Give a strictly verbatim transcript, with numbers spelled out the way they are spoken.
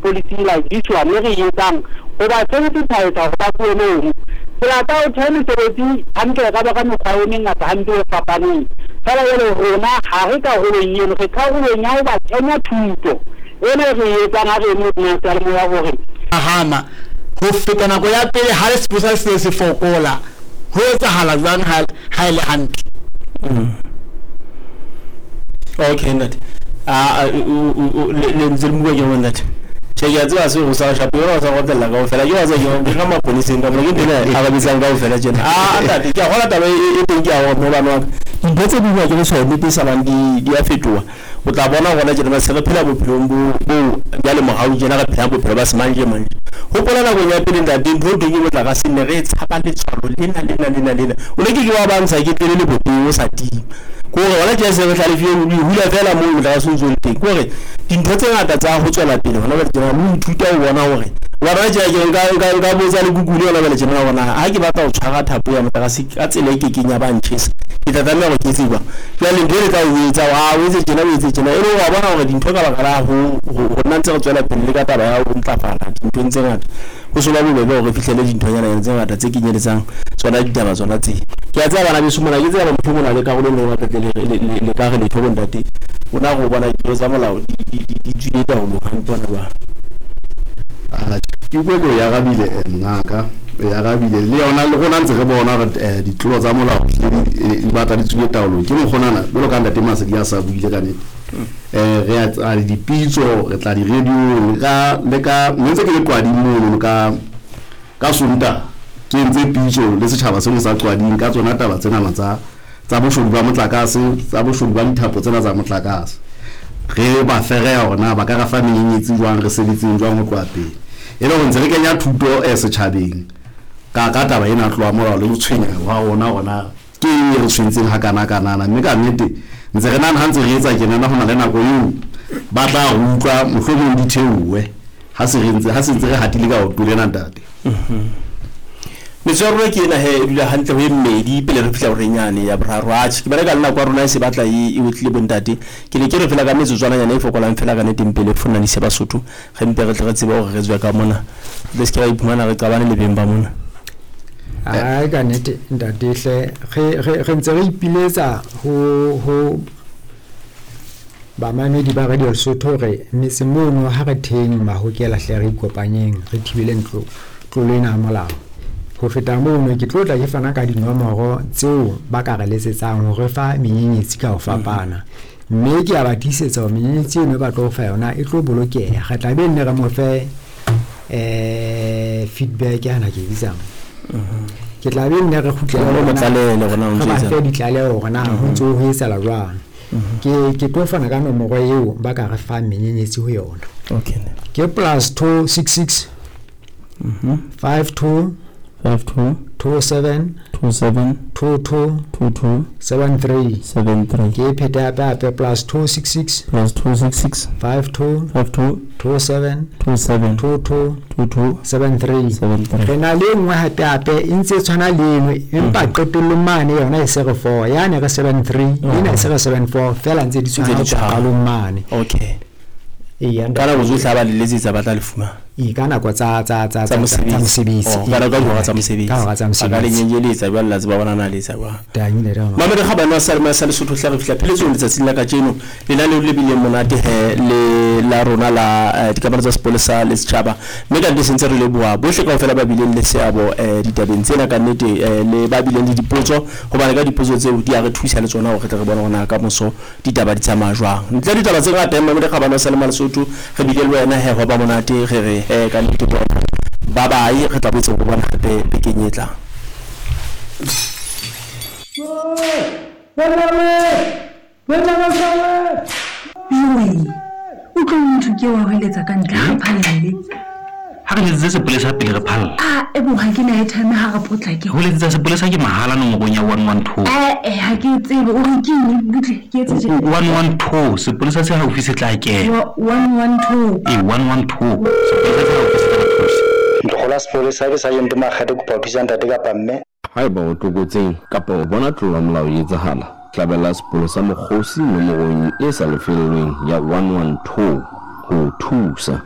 policing like this one e re e etsang ho ba sensitize hore ba tlohe mono. Tsela tsa ho theha mesebetsi hantle ka ba ka mekgwa e mengata hampe e fapaneng. Feela jwale rona ha re karolong eno, re karolong ya ho ba kenya thuto ena e re e etsang ha re eme hodima seyalemoya hore Nahana ho feta nako ya pele ha sepolesa se se fokola ho etsahala jwang ha ha e le hantle? Okay ntate, a le ntse le bua ke hore ntate, tjhe ke a tseba seo o sa shapo yona o sa kgotlella kaofela ke wa tseba ke ka maponeseng ka mona ke ntho ena a ba bitsang kaofela tjena. A ntate ke a kgola taba e teng ke a hore mobane wa ka dintho tse ding ke letshwao nnete e sa bang di di a fetoha. O tla bona gona tjena se re phela bophelong bo bo jwale morao tjena re phelang bophelo ba semanje-manje. Hopola nakong ya pele ntate ntho e teng ke motlakase ne re tshaba letshwalo lena lena lena lena o ne ke ke wa bantsha ke tlele leboteng o sa tima. Ke hore hona tjena se re hlalefile o hula fela moo motlakase o ntso o le teng. Ke hore dintho tse ngata tsa ho tswela pele hona jwale tjena le ho ithuta ho bona hore wa bona tjena ke nka nka nka botsa le Google hona jwale tjena hore na ha ke batla ho tshwara thapo ya motlakase ka tsela e kekeng ya ba ntjhesa ke tla tlameha hore ke etse jwang. Jwale ntho e tla o etsa ha o etse tjena o etse tjena e le wa bona hore dintho ka baka la ho ho nna ntse re tswela pele le ka taba ya ho ntlafala dinthong tse ngata ho so ba bobebe hore re fihlele dinthonyana tse ngata tse kenyeletsang tsona ditaba tsona tse. Ke a tseba bana beso mona ke tseba motho mona le karolo le batla tle le le ka re letho bo ntate o na go bona dilo tsa molao di di di tswile taolong hampe hona jwale. Ah, ke utlwe ke o e arabile nnaka e arabile le yona le rona ntse re bona hore ditlolo tsa molao di batla di tswile taolong. Ke mokgonana jwalo ka ntate Masedi a sa buile ka nnete. Eh re a tsa dipitso re tla di radio ka le ka ne ntse ke le Qwading mono ka ka Sontaha ke entse pitso le setjhaba seno sa Qwading ka tsona taba tsena tsa tsa boshodu ba motlakase tsa boshodu ba dithapo tsena tsa motlakase. Re ba fereya hore na ba ka re fa menyenyetsi jwang re sebetseng jwang ho tloha pele e le hore ntse re kenya thuto eh setjhabeng ka ka taba ena tloha molao le ho tshwenya wa rona rona ke eng e re tshwentseng hakana-kanana. Mme ka nnete ntse re nahana ha ntse re etsa tjenana ho na le nako eo ba tla re utlwa mohlomong di theohe ha se re ntse ha se ntse re hatile ka oto lena ntate. Metso ya rona ke ena he e dula hantle ho e mmedi pele re fihla horeng yane ya boraro. Atjhe ke bona ka le nako ya rona e se batla e e otlile bontate. Ke ne ke re fela ka metsotswananyana e fokolang fela ka nnete pele fonanise Basotho re mpe re tle re tsebe hore re tswe ka mona le se ke ra iphumana re qabane le beng ba mona. Ai ka nnete ntate hle re re re ntse re ipiletsa ho ho bamamedi ba Radio Lesotho hore metse mono ha re theng mahokela hle re ikopanyeng re thibeleng tlo tlolo ena ya molao. Ho feta mono ke tlo tla ke fana ka dinomoro tseo ba ka re letsetsang hore fa menyenyetsi ka ho fapana. Mme ke a ba tiisetsa hore menyenyetsi eno ba tlo fa yona e tlo bolokeha. Re tla be nne re mo fe eh feedback yana ke bitsang. Ke tla be nne re kgutlela le motlalele hore na o re ntse ba etsang. fe ditlaleho hore na ho ntse ho etsahala jwang. Ke ke tlo fana ka nomoro eo ba ka re fang menyenyetsi ho yona. Okay. Ke plus two six six five two five two two seven two seven two two two two seven three seven three. Ke phete hape hape plus two six six plus two six six five two five two two seven two seven two two two two seven three. seven three. Re na le e nngwe hape hape e ntse e tshwana le eno empa qetellong mane yona e se re four yane re seven three ena e se re seven four fela ntse di tshwana Ntse di ho tloha tshwana. qalong mane. Okay. Eya, Ka nako tsohle ha ba le letsetsa ba tla le fumana. Ee, ka nako tsa tsa tsa Tsa tsa mosebetsi. tsa mosebetsi. Oh, ka nako ka hora tsa mosebetsi. Ka hora tsa Ba ka le mosebetsi. nyenyeletsa jwale la tseba bona na le etsa jwang. Tanyile re Mamedi Kgabane wa Salema sa Lesotho hle re fihla pheletsong letsatsing la kajeno. Lenaneo le bileng monate he le la rona la eh, dikamano tsa sepolesa le setjhaba. Mme ka nnete se ntse re leboha bohle kaofela ba bileng le seabo eh, ditabeng tsena ka nnete eh, le ba bileng le dipotso hobane ka dipotso tseo di a re thusa le tsona hore re tle re bone hore na ka moso ditaba di tsamaya jwang. Ntle le ditaba tse ngata Mamedi Kgabane wa Salema Lesotho re bile le wena he ho ba monate re re he ka nnete bye bye re tla boetse re bona hape bekeng e tlang. Joe, o tlo motho ke wa ho eletsa ka ntle ha phalle. Ha re letsetse sepolesa pele re phalla. Ah, e bo ha ke na airtime ha re potlake. Ho letsetsa sepolesa ke mahala nomorong ya one one two. Eh, eh, ha ke tsebe o re ke eng butle ke etse tje. one one two sepolesa se haufi se tla kena. one one two. Eh, one one two sepolesa se haufi se tla thusa. Ntlo sepolesa ke Sergeant Makgate kopa ho thusa ntate kapa mme. Haeba o tlokotsing kapa o bona tlolo ya molao e etsahala, hlabela sepolesa mokgosi nomorong e sa lefellweng ya one one two ho thusa.